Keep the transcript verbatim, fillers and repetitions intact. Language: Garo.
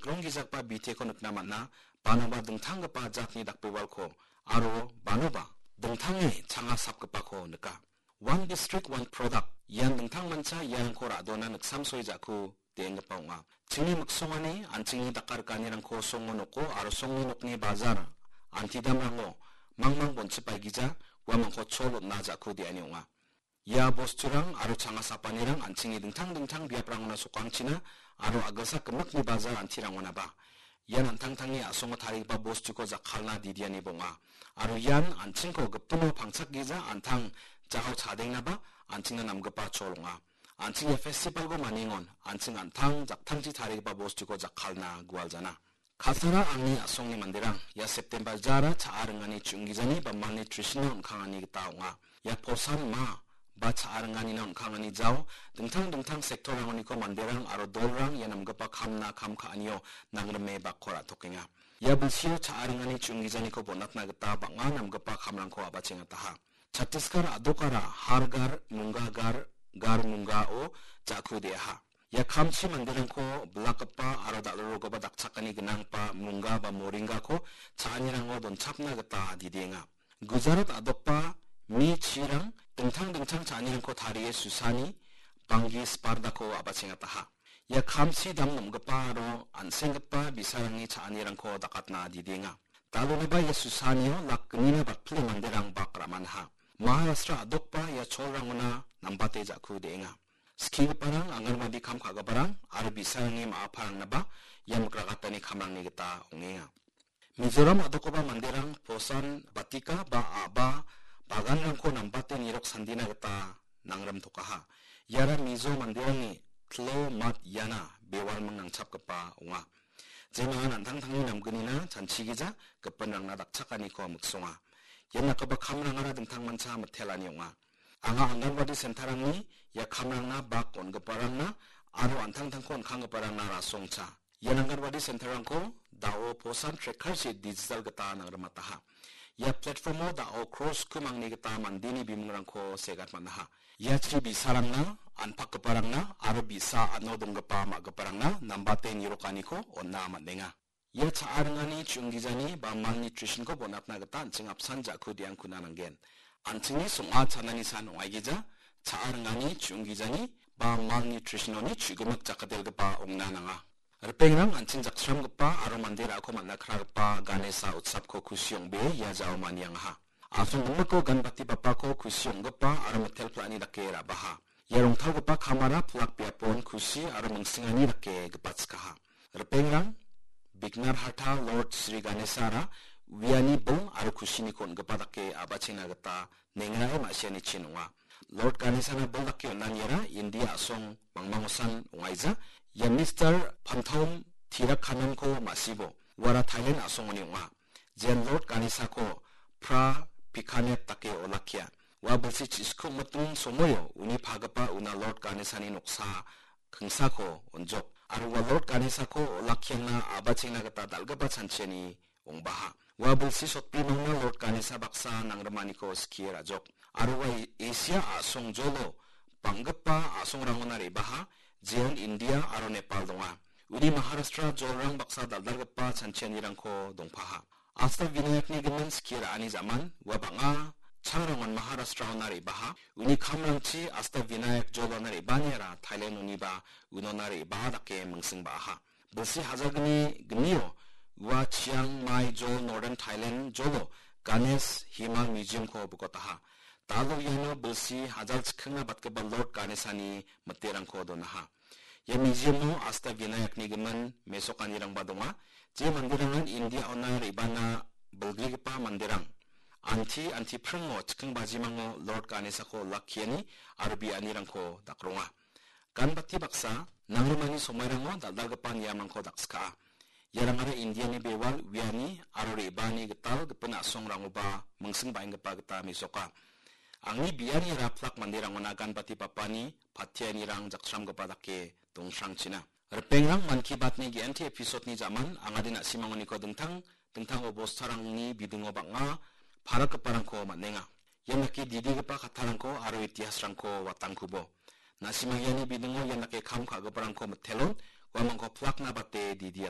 kronggijagipa biteko nikna man·a, banoba dingtanggipa jatni dakbewalko aro banoba dingtange changa sapgipako nika. One district, one product. Ian dingtangmancha iarangko ra·dona niksamsoe ja·ku de·enggipa ong·a. Chingni miksongani an·chingni dakarikanirangko songo noko aro songni nokni bajar, antidamrango mangmang bonchipaigija, uamangko chol on·na ja·ku de·ani ong·a. Ia bosturang aro changa sapanirang an·chingni dingtang dingtang biaprangona sokangchina aro a·gilsak gimikni bajar antirangonaba ian an·tangtangni a·songo tarigipa bostuko jakkalna didiani bonga. Aro ian an·chingko gipino pangchakgija an·tang jao chadengnaba an·chingna namgipa chol ong·a. An·ching ia festivalko maningon an·ching an·tang jaktangchi tarigipa bostuko jakkalna gualjana. Kasara angni a·songni manderang, ia September jara cha·a ringani chu·onggijani ba malnutrition-o on·kangani gita ong·a. Ia posan ma ba cha·a ringanina on·kangani jao, dingtang dingtang sektorangoniko manderang aro dolrang ia namgipa kamna kam ka·anio nangrime bakko ra·tokenga. Ia bilsio cha·a ringani chu·onggijaniko bonatna gita bang·a namgipa kamrangko a·bachengataha. Chhattisgarh a·dokara Har Ghar Munga Ghar, Ghar Munga-o ja·ku de·aha. Ia kamchi manderangko bilakgipa aro dal·rorogipa dakchakani gnanggipa munga ba moringako cha·anirango donchapna gita didienga. Gujarat a·dokba mi chirang dingtang dingtang cha·anirangko tarie susani banggi spardako a·bachengataha. Ia kamchi dam nom·gipa aro an·senggipa bi·sarangni cha·anirangko dakatna didienga. Daloniba ia susanio lak gnina batpile manderang bak ra·manaha. Maharashtra a·dokba ia cholrangona nambate ja·ku de·enga. Skigiparang, anganwadi kam ka·giparang aro bi·sarangni ma·aparangnaba ia mikragatani kamrangni gita ong·enga. Mizoram a·dokgipa manderang posan batika ba a·ba baganrangko nambate nirok sandina gita nangrimtokaha. Iara Mizo manderangni tlo mat iana bewalming nangchapgipa ong·a. Jemangan an·tangtangni namgnina chanchigija gipinrangna dakchakaniko miksonga. Ia dakgipa kamrangara dingtangmancha mitelani ong·a. Anga anganwadi sentarangni ia kamrangna bak on·giparangna aro an·tangtangko on·kanggiparangna rasongcha. Ia anganwadi sentarangko da·o posan tracker-chi digital gita nangrimataha. Ia platform-o da·o cross kumangni gita mandeni bimungrangko segat man·aha. Iachi bi·sarangna, anpakgiparangna aro bi·sa ano donggipa ma·giparangna nambate nirokaniko on·na man·enga. Ia cha·a ringani chu·onggijani ba malnutrition-ko bonatna gita an·ching apsan ja·ku de·angkuna nanggen. An·chingni song·a chanani san ong·aigija, cha·a ringani chu·onggijani ba malnutrition-oni chu·gimik jakkalgipa ong·na nanga. Ripengrang, an·ching jaksramgipa aro mande ra·ako man·a kragipa Ganesa utsapko kusi ong·bee ia jao maniangaha. A·song gimikko Ganpati bapako kusi ong·gipa aro mitel pla·ani dake ra·baha. Ia rongtalgipa kamara pilak biapon kusi aro mingsingani dake gipatchikaha. Ripengrang, Bignar Harta Lord Sri Ganesara uiani bil aro kusiniko on·gipa dake a·bachengna gita nengrae ma·sianichin ong·a. Lord Ganesana bil dake on·aniara India a·song mangmangosan ong·aija. Ia Mister Panthom Tirakhanonko ma·sibo, uara Thailand a·songoni ong·a. Jean Lord Ganesako Pra Pikanet dake olakkia. Ua bilsi chisiko miting somoio uni pagipa una Lord Ganesani noksa kingsako on·jok. Aro ua Lord Ganesako olakkiangna a·bachengna gita dal·gipa chanchiani ong·baha. Ua bilsi sotbimangna Lord Ganesa baksa nangrimaniko skie ra·jok. Aro ua Asia a·song jolo bang·gipa a·songrangona re·baha, jeon India aro Nepal donga. Uni Maharashtra jolrang baksa dal·dalgipa chanchianirangko dongpaha. Asta Vinayakni gimin skie ra·ani ja·man, ua bang·a changrangon Maharashtraona re·baha. Uni kamrangchi Asta Vinayak jolona re·baniara Thailandoniba unona re·baa dake mingsing ba·aha. Bilsi hajalgni gnio ua Chiang Mai jol Northern Thailand jolo Ganesh Himal Museum-ko bikotaha. Dalo iano bilsi hajal chikkingna batgipa Lord Ganesani miterangko donaha. Ia museum-o Asta Vinayakni gimin mesokanirangba donga. Je manderangan India-ona re·bana bilgrigipa manderang anti, anti pringo chikkingbajimango Lord Ganesako olakkiani aro bianirangko dakronga. Ganbati baksa, nangrimani somairango dal·dalgipa niamrangko dakskaa. Iarangara Indiani bewal, uiani aro re·baani gital gipin a·songrangoba mingsing ba·enggipa gita mesoka. Angni biani raplak manderangona Ganbati bapani patianirang jaksramgipa dake dongsrangchina. Ripengrang, Mann Ki Baat-ni G N T episode-ni ja·man, angade na·simangoniko dingtang dingtang obostarangni bidingo bang·a parakgiparangko man·enga. Ian dake didigipa kattarangko aro itihasrangko watangkubo. Na·simang iani bidingo ian dake kam ka·giparangko mitelon, uamangko plakna bate didi